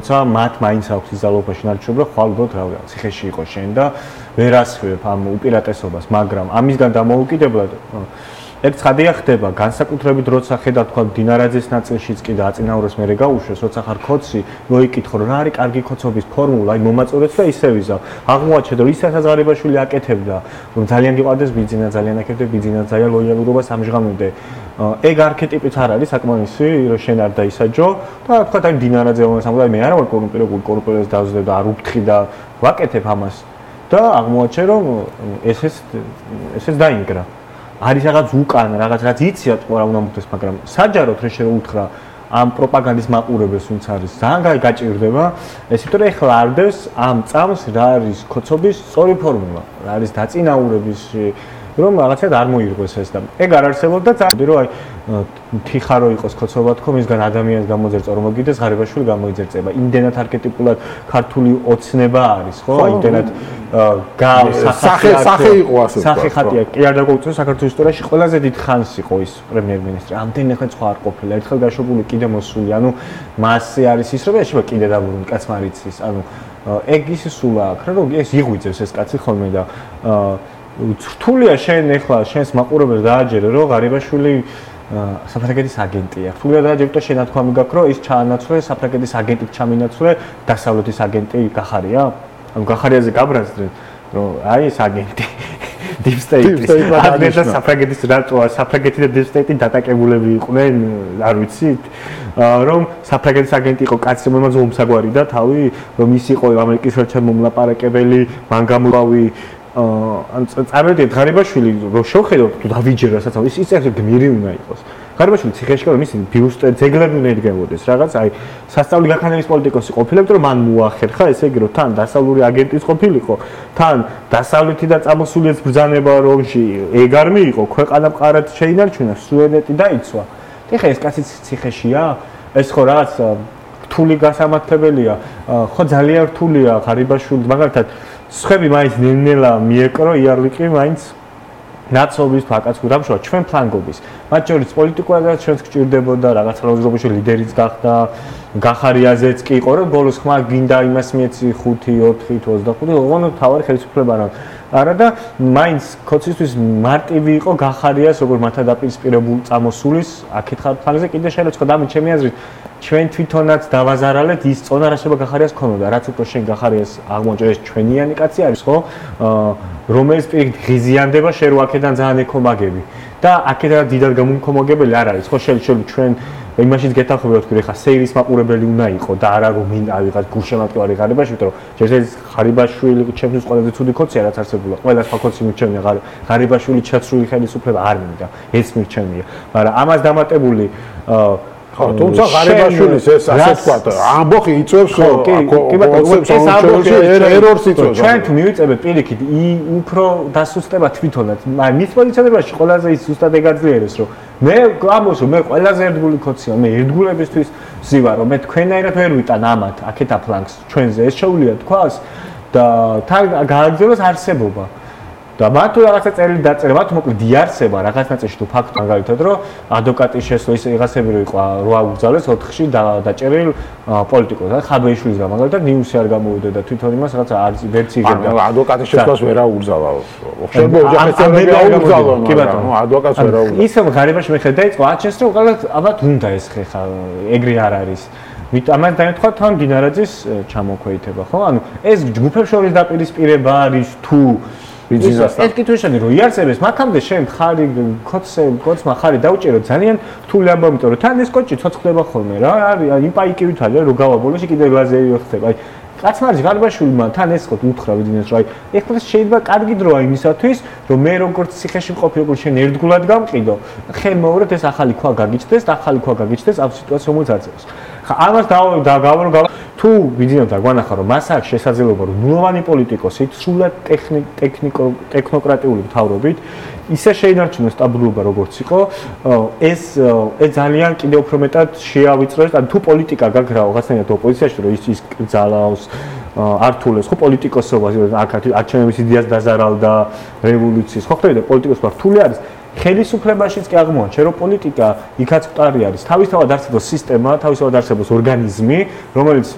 როცა მათ მაინც აქვს ის ძალაუფლება შენარჩუნება, ხვალ უბრალოდ რა ციხეში იყო შენ და ვერ ასხივებ ამ უპირატესობას, მაგრამ ამისგან დამოუკიდებლად ეგ ცხადია ხდება განსაკუთრებით როცა ხედავ თქვა დინარაძის ნაწილშიც კი და აწინაურებს მე გაუშვეს როცა ხარ ქოცი მოიკითხო რა არის კარგი ქოცობის ფორმულა აი მომაწურეთ და ისე ვიზავ აღმოაჩენე რომ ისაც აზარებაშვილი აკეთებდა რომ ძალიან გიყვარდეს ბიძინა ძალიან აკეთებდა ბიძინა ძალიან ლოიალურობას ამჟღავნებდა ეგ არქეტიპიც არ არის საკმარისი რომ შენ არ დაისაჯო და თქვა აი დინარაძე მომას ამბობდა მე არ ვარ კორუმპირებული დავზდებ და არ უფთხი და ვაკეთებ ამას და აღმოაჩენე რომ ესეც დაინგრა არის რაღაც უკან, რაღაც იციან რა უნდა მოხდეს, მაგრამ საჯაროდ რა შეუთხრა ამ პროპაგანდის მაყურებელს ვინც არის. ძალიან გაჭირდება. ეს იმიტომ რომ ეხლა არდევს ამ წამს რა არის ქოცობის სწორი ფორმულა, რა არის დაწინაურების რომ რაღაცა არ მოირღვეს ეს და ეგ არ არსებობდა ძალიან რომ აი თიხარო იყოს ქოცობა თქო მისგან ადამიანს გამოძერწა რომ მოგიდეს ღარიბაშვილი გამოიძერწება იმდენად არქეტიპულად ქართული ოცნება არის ხო აი იმდენად სახე იყო ასე სახე ხატია კი არ დაგოუწევ საქართველოს ისტორიაში ყველაზე დიდ ხანს იყო ის პრემიერ-მინისტრი ამდენი ხან სხვა არ ყოფილა ერთხელ გაშობული კიდე მოსული ანუ მასზე არის ის რომ ეშება კიდე დაბრუნ კაცმა არიცის ანუ ეგ ის სულა აქვს რა რომ ეს იღვიძებს ეს კაცი ხოლმე და რთულია შენ ეხლა შენს მაყურებელს დააჯერე რომ ღარიბაშვილი საფრანგეთის აგენტია. რთულია დააჯერე და შენათქვამი გაქვს რომ ის ჩაანაცვლე საფრანგეთის აგენტით ჩამინაცვლე დასავლეთის აგენტი გახარია? ანუ გახარიაზე გაბრაზდნენ რომ აი ეს აგენტი Deep State-ის აგენტი საფრანგეთის რატოა საფრანგეთი და Deep State-ი დატაკებულები იყვნენ არ ვიცით რომ საფრანგეთის აგენტი იყო კაცი მომაძო უმსაგვარი და თავი რომ ის იყო ამერიკის რჩევ მომლაპარაკებელი მან გამოვავი ან წარმოვიდგინეთ ღარიბაშვილი რო შევხედოთ თუ დავიჯერა რასაც ის ეს გმირი უნდა იყოს ღარიბაშვილი ციხეში რომ ის ბიუსტე ძეგლები უნდა იდგებოდეს რაღაც აი სასწავლი გაქანების პოლიტიკოსი ყოფილებდა რომ მან მოახერხა ესე იგი რომ თან დასავლური აგენტის ყოფილიყო თან დასავლეთი და წამოსულიეს ბრძანება რომში ეგ არ მიიღო ქვეყანა მყარად შეინარჩუნა სუვერენიტეტი დაიცვა ეხლა ეს კაცი ციხეშია ეს ხო რაღაც რთული გასამართლებელია ხო ძალიან რთულია ღარიბაშვილი მაგალითად სხვები მაინც ნელ-ნელა მიეკრო იარლიკი მაინც ნაცობის ფაკაცკუ დამშვა ჩვენ ფლანგობის მათ შორის პოლიტიკურად ჩვენს გჭირდებოდა რაღაც rozrobiში ლიდერიც გახდა გახარიაზეც კი იყო რომ ბოლოს ხმა გინდა იმას მიეცი 5 4 25 ოღონდ თავარი ხელისუფლება არა და მაინც ქოცისთვის მარტივი იყო გახარიას როგორ მათადაპირისპირებულ წამოსულის აქეთ ხალხზე კიდე შეიძლება თქვა დამი ჩემი აზრით ჩვენ თვითონაც დავაზარალეთ ის წონა რა შეიძლება გახარიას ქონოდა რაც უფრო შენ გახარიას აღმოჩნდა ეს ჩვენიანი კაცი არის ხო რომელიც პირიქით ღიზიანდება შენ რო აქედან ძალიან ეკომაგები და აქედან დიდად გამომკომაგებელი არ არის ხო შეიძლება ჩვენ იმაშიც გეთანხმება თქვი ხა სეირის მაყურებელი უნდა იყო და არა რომ მინდა ვიღაც გულშემატკივარი ღარიბაში იმიტომ რომ შეიძლება ღარიბაშვილი ჩემთვის ყველაზე ცუდი ქოცია რაც არსებულა ყველა სხვა ქოცი მირჩენია ღარიბაშვილი ჩაცრული ხელისუფლება არ მინდა ეს მირჩენია მაგრამ ამას დამატებული ხო, თუმცა ღარიბაშვილის ეს ასე ვთქვათ, ამბოხი იწევს ეს ამბოხი ერორს იწევს. ჩვენ თუ მივიწებთ პირიქით, უფრო დასუსტება თვითონაც. მაგრამ მის პოზიციონებაში ყველაზე ის ზუსტად ეგაძლიერებს, რომ მე გამოს რომ მე ყველაზე ერთგული ქოცია, მე ერთგულებისთვის ვზივარ, რომ მე თქვენაირად ვერ ვიტან ამათ, აქეთა ფლანგს ჩვენზე ეს შეუძლია თქვას და თან გააგრძელოს არსებობა. და მათ თუ რაღაცა წერილი დაწერა, მათ მოკლედ იარსება რაღაც ნაწილში თუ ფაქტი მაგალითად რომ ადვოკატის შესვლა ის რაღაცები რო იყო რო აუგზავნეს 4-ში დაჭერილ პოლიტიკოსს. ხაბეიშვილის რა მაგალითად ნიუსი არ გამოვიდა და თვითონ იმას რაღაცა არც ვერც იგებდა. ადვოკატის შესვლას ვერ აუგზავა. ხდება ოჯახისწორები აუგზავა. კი ბატონო, ადვოკატს ვერ აუგზავა. ისე ღარიბაში მე ხედა იყო აჩენს რომ უბრალოდ ალბათ უნდა ეს ხეხა ეგრე არ არის. ამან დაეთქვა თან დინარაძის ჩამოქვეითება, ხო? ანუ ეს ჯგუფებს შორის დაპირისპირება არის თუ ეს კითხვაშენი რომ იარსებდეს მაგამდე შენ ხარი კოცმა ხარი დაუჭირო ძალიან რთული ამბავი იმიტომ რომ თან ეს კოჭი ცოცხლდება ხოლმე რა არის იმ პაიკივით არის რომ გავაბოლოში კიდე ლაზერი ხდება აი კაცმა არის ღარიბაშვილმა თან ეს ხო უთხრა ვიდინეს რომ აი ეხლა შეიძლება კარგი დროა იმისათვის რომ მე როგორც ციხეში მყოფი როგორც შენ ერთგულად გამყიდო ხელმოურეთ ეს ახალი ქვა გაგიჩნდეს და ახალი ქვა გაგიჩნდეს ამ სიტუაციას რომელიც აწევს ხა ამას დავავრო თუ ვიძინოთ და გვანახა რომ მას აქვს შესაძლებლობა რომ ნულოვანი პოლიტიკოსით სრულად ტექნოკრატიული მთავრობით ისე შეინარჩუნოს სტაბილურობა როგორც იყო ეს ძალიან კიდევ უფრო მეტად შეავიწროს ან თუ პოლიტიკა გაგრაო რაღაცნაირად ოპოზიციაში რომ ის ძალაოს ართულებს ხო პოლიტიკოსობა აქ არჩევნების იდეას დაზარალდა რევოლუციის ხო ხდება პოლიტიკოსობა რთული არის ხელისუფლებაშიც კი აღმოაჩნდა რომ პოლიტიკა იქაც მყარი არის თავისთავად არსებობს სისტემა თავისთავად არსებობს ორგანიზმი რომელიც